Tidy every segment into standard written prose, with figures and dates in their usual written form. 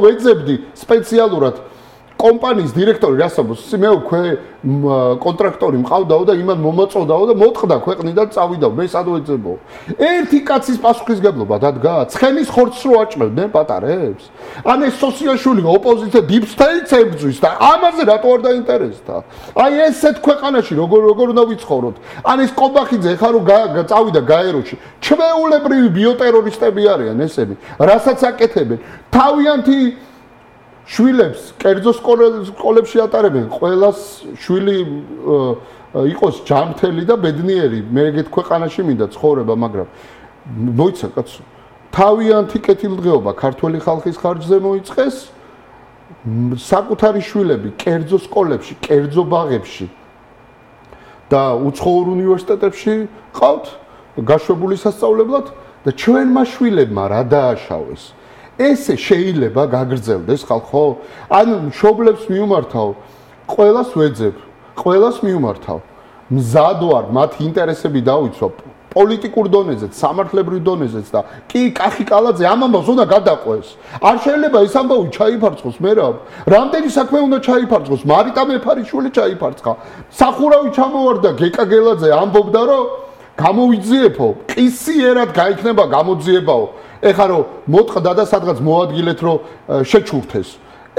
ვეძებდი სპეციალურად კომპანიის დირექტორი რასაბოს მე უკვე კონტრაქტორი მყავდაო და იმან მომაწოდაო და მოწყდა ქვეყნიდან წავიდაო მე სად ვეძებო ერთი კაცის პასუხისგებლობა დადგა ცხენის ხორცს რო აჭმევდნენ პატარებს ან ეს სოციალისტური ოპოზიცია დიპსტეიტს ებრძვის და ამაზე რატო არ დაინტერესდა აი ესეთ ქვეყანაში როგორ უნდა ვიცხოვროთ ან ეს კობახიძე ხა რო წავიდა გაეროში ჩვეულებრივი ბიოტერორისტები არიან ესენი რასაც აკეთებენ თავიანთი შვილებს კერძო სკოლებში ატარებენ ყველას შვილი იყოს ჯანმრთელი და ბედნიერი მე ეგეთ ქვეყანაში მინდა ცხოვრება მაგრამ მოიცა კაცო თავიანთი კეთილდღეობა ქართველი ხალხის ხარჯზე მოიწყეს საკუთარი შვილები კერძო სკოლებში კერძო ბაღებში და უცხოურ უნივერსიტეტებში ყავთ გაშვებული სასწავლებლად და ჩვენმა შვილებმა რა დააშავეს ესე შეიძლება გაგრძელდეს ხალხო? ან მშობლებს მიუმართავ, ყველას ვეძებ, ყველას მიუმართავ. მზად ვარ მათ ინტერესები დავიცვა პოლიტიკურ დონეზეც, სამართლებრივ დონეზეც და კი კახი კალაძე ამ ამბავს უნდა გადაყვეს. არ შეიძლება ეს ამბავი ჩაიფარცხოს მერაბ. რამდენი საქმე უნდა ჩაიფარცხოს? მარიტა მეფარიშვილი ჩაიფარცხა. სახურავი ჩამოვარდა გეკა გელაძე ამბობდა რომ გამოვიძიებო, ყისიერად გაიქნება გამოძიებაო. ეხლა რომ მოტყდა და სადღაც მოადგილეთ რომ შეჩურთეს.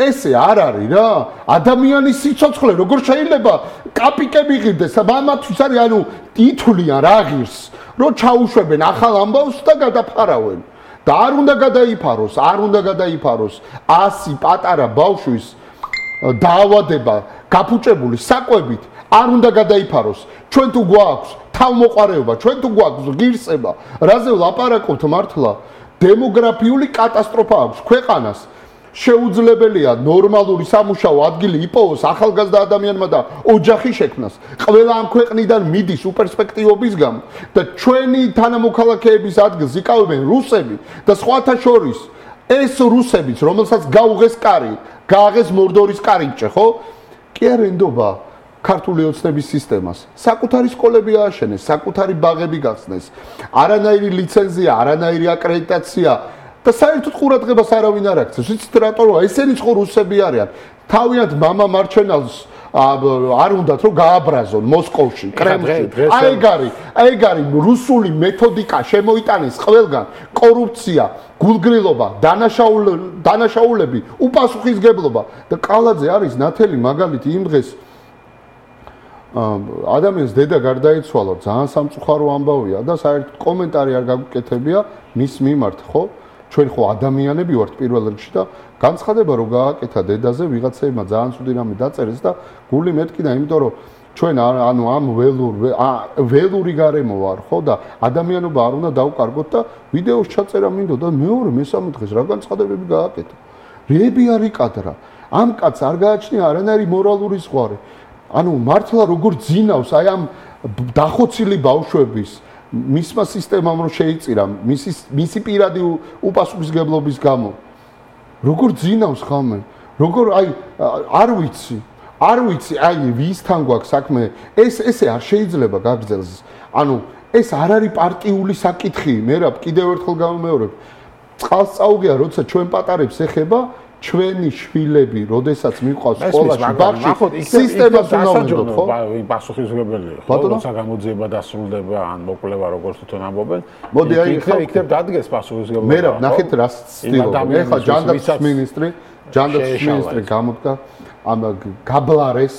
ესე არ არის რა. ადამიანის სიცოცხლე როგორ შეიძლება კაპიკები ღირდეს? მამათვის არის ანუ ითვლიან რა ღირს, რომ ჩაუშვებენ ახალ ამბავს და გადაფარავენ. და არ უნდა გადაიფაროს, არ უნდა გადაიფაროს 100 პატარა ბავშვის დაავადება გაფუჭებული საკვებით არ უნდა გადაიფაროს. ჩვენ თუ გვაქვს თავმოყარეობა, ჩვენ თუ გვაქვს ღირსება, რაზე ვლაპარაკობთ მართლა? დემოგრაფიული კატასტროფა აქვს ქვეყანას. შეუძლებელია ნორმალური სამუშაო ადგილი იპოვოს ახალგაზრდა ადამიანმა და ოჯახი შექმნას. ყველა ამ ქვეყნიდან მიდის უპერსპექტივობის გამო და ჩვენი თანამოქალაქეების ადგილს იკავებენ რუსები და სხვათა შორის ეს რუსებიც, რომელსაც გაუღეს კარი, გააღეს მორდორის კარიბჭე, ხო? კი არ ენდობა ქართული ოცნების სისტემას. საკუთარი სკოლები ააშენეს, საკუთარი ბაღები გახსნეს. არანაირი ლიცენზია, არანაირი აკრედიტაცია და საერთოდ ყურადღებას არავინ არ აქცევს. ვიცით რატომ? ესენი ხო რუსები არიან. თავიანთ მამა მარჩენალს არ უნდათ რომ გააბრაზონ მოსკოვში, კრემლში. აი ეგ არის რუსული მეთოდიკა შემოიტანეს ყველგან. კორუფცია, გულგრილობა, დანაშაულები, უპასუხისგებლობა და კალაძე არის ნათელი მაგალითი იმ დღეს ადამიანს დედა გარდაიცვალა ძალიან სამწუხარო ამბავია და საერთოდ კომენტარი არ გაგუკეთებია მის მიმართ ხო ჩვენ ხო ადამიანები ვართ პირველ რიგში და განცხადება რო გააკეთა დედაზე ვიღაცებმა ძალიან ცუდი რამე დაწერეს და გული მეთკინა იმიტომ რომ ჩვენ ანუ ამ ველური გარემო ვარ ხო და ადამიანობა არ უნდა დავკარგოთ და ვიდეოს ჩაწერა მინდოდა მეორე მესამე დღეს რა განცხადებები გააკეთა რეები არ იკადრა ამ კაცს არ გააჩნია არანაირი მორალური ზღვარი ანუ მართლა როგორ ძინავს აი ამ დახოცილი ბავშვების მისმა სისტემამ რო შეიწირა მისი პირადი უპასუხისგებლობის გამო როგორ ძინავს ხამე როგორ აი არ ვიცი აი ვისთან გვაქვს საქმე ესე არ შეიძლება გაგრძელდეს ანუ ეს არ არის პარტიული საკითხი მერაბ კიდევ ერთხელ გამომეორებ წყალს წაუგია როცა ჩვენ პატარებს ეხება ჩვენი შვილები, როდესაც მიყვავს სკოლაში, ბაღში, სისტემას უნდა ვინდოთ, ხო? პასუხისმგებელია, ხო? როცა გამოძიება დასრულდება, ან მოკვლევა როგორც თვითონ ამბობენ. მოდი აი იქნებ დადგეს პასუხისმგებლობა. მე რა, ნახეთ რა ცდილობენ. ეხლა ჯანდაცვის მინისტრი გამოდგა, ამ გაბლარეს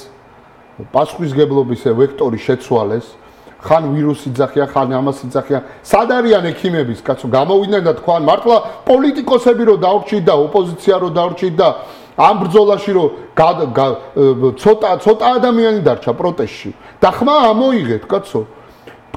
პასუხისმგებლობის ვექტორი შეცვალეს. ხან ვირუსი ძახია, ხან ამას იძახია. სად არიან ექიმების კაცო გამოვიდნენ და თქვან მართლა პოლიტიკოსები რო დავრჩით და ოპოზიცია რო დავრჩით და ამ ბრძოლაში რო ცოტა ადამიანი დარჩა პროტესტში. და ხმა ამოიღეთ კაცო.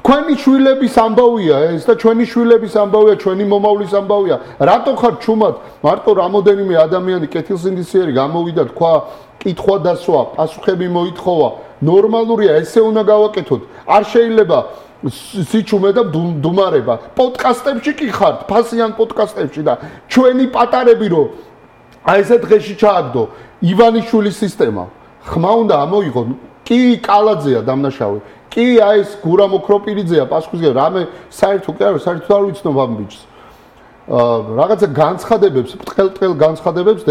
თქვენი შვილების ამბავია ეს და ჩვენი შვილების ამბავია, ჩვენი მომავლის ამბავია. რატო ხარ ჩუმად? მარტო რამოდენიმე ადამიანი კეთილსინდისიერი გამოვიდა თქვა კითხვა დასვა, პასუხები მოითხოვა. ნორმალურია, ესე უნდა გავაკეთოთ. არ შეიძლება სიჩუმე და დუმარება. პოდკასტებში კი ხართ, ფასიან პოდკასტებში და ჩვენი პატარები რო აი ესე დღეში ჩააგდო ივანიშვილის სისტემა. ხმა უნდა ამოიღო. კი კალაძეა დამნაშავე. კი აი ეს გურამ ოქროპირიძეა პასუხისმგებელი. რამე საერთოდ კი არ ვიცნობ ამ ბიჭს. რაღაცა განცხადებებს, ბრტყელ-ბრტყელ განცხადებებს